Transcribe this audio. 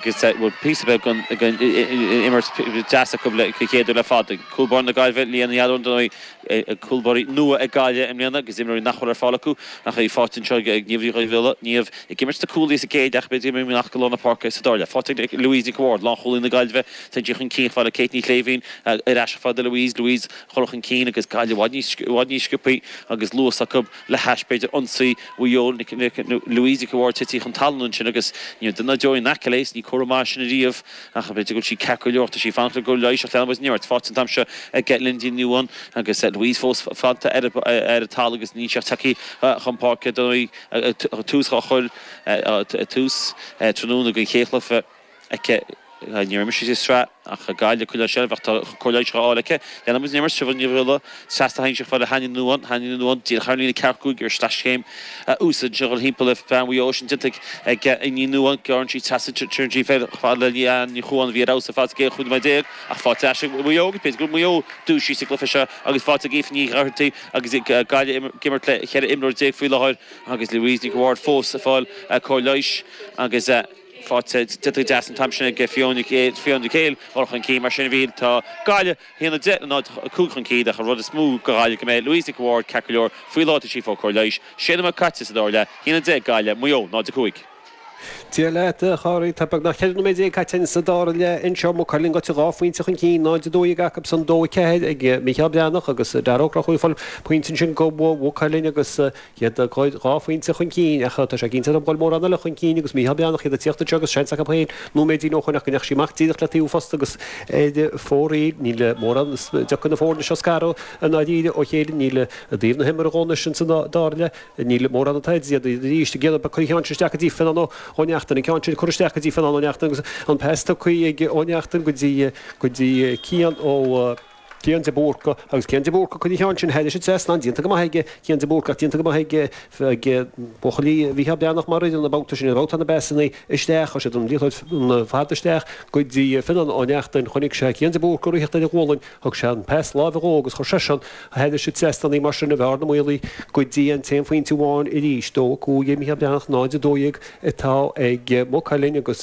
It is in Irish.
Agus bhfuil píosa beag den imirt deas acu den chéad uair le fada. Cúl báire na Gaillimhe, Leanne Ní Allúin, dar ndóigh, cúl báirí nua ag Gaillimh i mbliana agus imreoirí nach bhfuil ar fáil acu ach í faighte anseo ag Niamh Ní Dhubhghiolla. Niamh ag imirt sna cúlaí sa gcéad leath ach b'fhéidir go mbeidh amach go lár na páirce sa dara leath. Faighte ag Louise Nic Ward, lánchúlaí na Gaillimhe. Téann sí chun cinn chomh fada le Kate Ní Shléibhín ar ais chomh fada le Louise. Louise a chur chun cinn agus Gaillimh i bhfad níos sciobthaí agus luas acu. le hais, b'fhéidir, ionsaí Mhaigh Eo, Louise Nic Ward tití chun talún ansin agus ní raibh duine ná deoraí in aice léi, ní comhartha maith sin ariamh ach b'fhéidir go bhfuil sí ceart go leor, tá sí ag fanacht le cóir leighis ach leanann muid den imirt. Faighte an t-am seo ag Lindy Ní Nuadháin agus Louise fós fanta ar an talamh agus níl sí ach tagtha chun páirce dar ndóigh tús á chur tús tráthnóna den chéad chluiche. aici. Níor imir sí sa tsraith ach Gaillimh ag coinneáil seilbh ach tá cóir leighis á fháil aici. Leanann muid den imirt, Siobhán Ní Dhubhghiolla trasna théann sí chomh fada le hAnnie Ní Nuadháin, Annie Ní Nuadháin díreach thar an líne ceathracha 5 ar sleaschéim a úsáid ansin a dhul thimpeall le bean Mhaigh Eo sin déanta ag Ní Nuadháin. Gearrann sí trasna téann sí chomh fada le Leanne Ní Chuáin a bhí ar fheabhas ar fad sa gcéad 15 nóiméad ach faighte ar ais ag Maigh Eo agus b'fhéidir go bhfuil Maigh Eo dúisithe sa gcluiche seo agus faighte ag Aoife Ní Dhochartaigh agus Gaillimh ag imirt le 14 imreoir faoi láthair agus Louise Nic Ward fós ag fáil cóir leighis agus Faighte déanta go deas an t-am sin ag Fiona Fiona Cale dul chun cinn mar sin a bhí tá Gaillimh 1-10 le 0-5 chun cinn ach an rud is mó do Ghaillimh go mbeidh Louise Nic Ward ceart go leor faoi láthair tá sí ag fáil cóir leighis. Sé nóiméad caite sa dara leath, 1-10 Gaillimh, Maigh Eo 0-5. Dia leat, a Chárthaigh. Tá beagnach 14 nóiméad caite sa dara leath anseo. Maigh Cuilinn gaibhte dhá phointe chun cinn, 0-12 acu san, 2-4 ag Mícheál Breathnach agus Dara Ó Conchúir ag fáil pointe ansin do Mhaigh Cuilinn agus Iad ag goil dhá phointe chun cinn ach tá sé cinnte nach bhfuil mórán eile chun cinn agus Mícheál Breathnach iad ag tíocht anseo agus seans acu féin nóiméidín ó shoin ach go ndeachaigh sí amach díreach le taobh an phosta agus ar fóraoil. Níl mórán dtiocfaidh na foirne seo scaradh i ndáiríre ó chéile. Níl i dtaobh na himeartha dhó anois ins an dara leath. Níl mórán atá idir iad arís ag iarraidh cur an cheann sin isteach go dtí Fionán Ó Neachtain. An ceann sin curtha isteach go dtí Fionán Ó Neachtain agus an pas tugtha ag Ó Neachtain go dtí go dtí Cian Ó Cian de Búrca agus Cian de Búrca cuir an cheann sin thairis an trasnán, déanta go maith aige Cian de Búrca ach déanta go maith ag ag buachaillí Mhícheál Breathnach mar fhoireann an babhta sin, an babhta na bpasanna isteach, chuir siad an liathróid fada isteach go dtí Fionán Ó Neachtain, chonaic sé Cian de Búrca ag ritheacht ar a ghualainn, thug sé an pas láimhe dhó agus chuir seisean thairis an trasnán í mar sin i mBearna Maolaí go dtí an t-aon phointe amháin arís, 2-5 ag Mícheál Breathnach, 0-12 atá ag Maigh Cuilinn agus.